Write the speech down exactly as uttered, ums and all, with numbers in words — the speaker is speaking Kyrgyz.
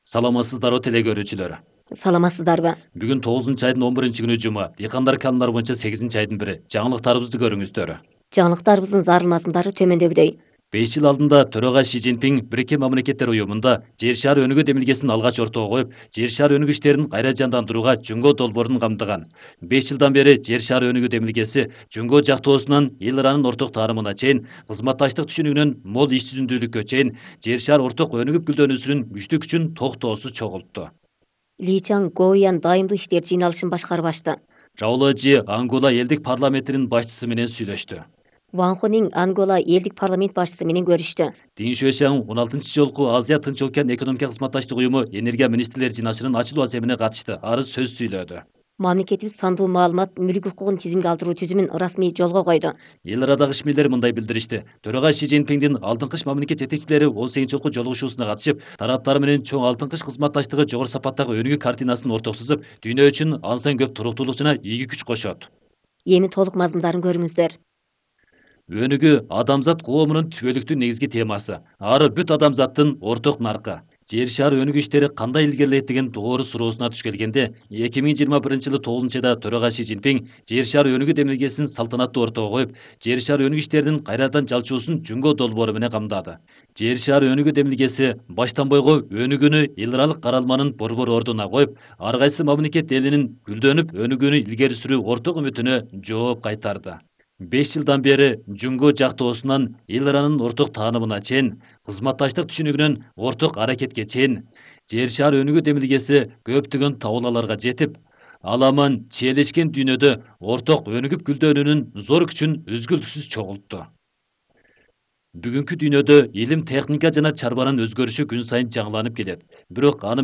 Саламатсыздарбы теле көрүүчүлөр. Саламатсыздарбы? Бүгүн тогузунчу айдын он биринчи күнү жума. Дыйкандар канундар боюнча сегизинчи айдын бири. Жаңылыктарыбызды көрүңүздөр. Жаңылыктарыбыздын зарыл мазмундары төмөндөгүдөй. беш жыл алдында төрага Ши Цзиньпин Бириккен Мамлекеттер уюмунда Жер шары өнүгүү демилгесин алгач ортого коюп, жер шары өнүгүү иштерин кайра жандандырууга жөнгө долбоорун камтыган. беш жылдан бери жер шары өнүгүү демилгеси жөнгө жактоосунан эл аранын орток таанымына чейин, кызматташтык түшүнүгүнөн мол иш жүзүндүүлүккө чейин жер шар орток өнүгүп гүлдөнүүсүнүн күчтүү күчүн токтоосуз чогултту. Ли Чан Гоуян дайымдык иштер жыйналышын башкарып ачты. Рауло Жи Ангола элдик парламентинин башчысы менен сүйлөштү. Ван Хунин Ангола элдик парламент башчысы менен көрүштү. Дин Шуэшаң он алтынчы жолку Азия Тынч океан экономика кызматташтык уюму энергия министрлери жыйналышынын ачылуу аземине катышты. Ары сөз сүйлөдү. Мамлекетибиз сандуу маалымат мүлк укугун тизимге алдыруу түзүмүн расмий жолго койду. Эл арадагы ишмерлер мындай билдиришти. Төрага Ши Цзиньпиндин алдыңкы мамлекет жетекчилери он сегизинчи жолку жолугушуусуна катышып, тараптар менен чоң алдыңкы кызматташтыгы жогору сапаттагы өнүгүү картинасын ортого сызып, дүйнө үчүн ансан көп туруктуулук жана ийгилик күч кошот. Эми толук мазмундарын көрүңүздөр. Өнүгүү адамзат коомунун түбөлүктүү негизги темасы. Ары бүт адамзаттын орток наркы. Жер шары өнүгүү иштери кандай илгерилейт деген тоору суроосуна туш келгенде, эки миң жыйырма биринчи жылы тогузунчу айда төрага Ши Цзиньпин жер шары өнүгүү демилгесин салтанаттуу ортого коюп, жер шары өнүгүү иштеринин кайрадан жалчуусун жөнгө долбоору менен камдады. Жер шары өнүгүү демилгеси баштан бойго өнүгүүнү эл аралык каралманын борбор ордуна коюп, ар кайсы мамлекет элинин гүлдөнүп өнүгүүнү илгери сүрүү орток үмүтүнө жооп кайтарды. беш жылдан бери жөнгө жактоосунан эл аранын орток таанымына чейин, кызматташтык түшүнүгүнөн орток аракетке чейин, жер шары өнүгүү демилгеси көптөгөн табуулаларга жетип, аламан чиелешкен дүйнөдө орток өнүгүп гүлдөнүүнүн зор күчүн үзгүлтүксүз чогултту. Бүгүнкү дүйнөдө илим, техника жана чарбанын өзгөрүшү күн сайын жаңыланып келет. Бирок аны менен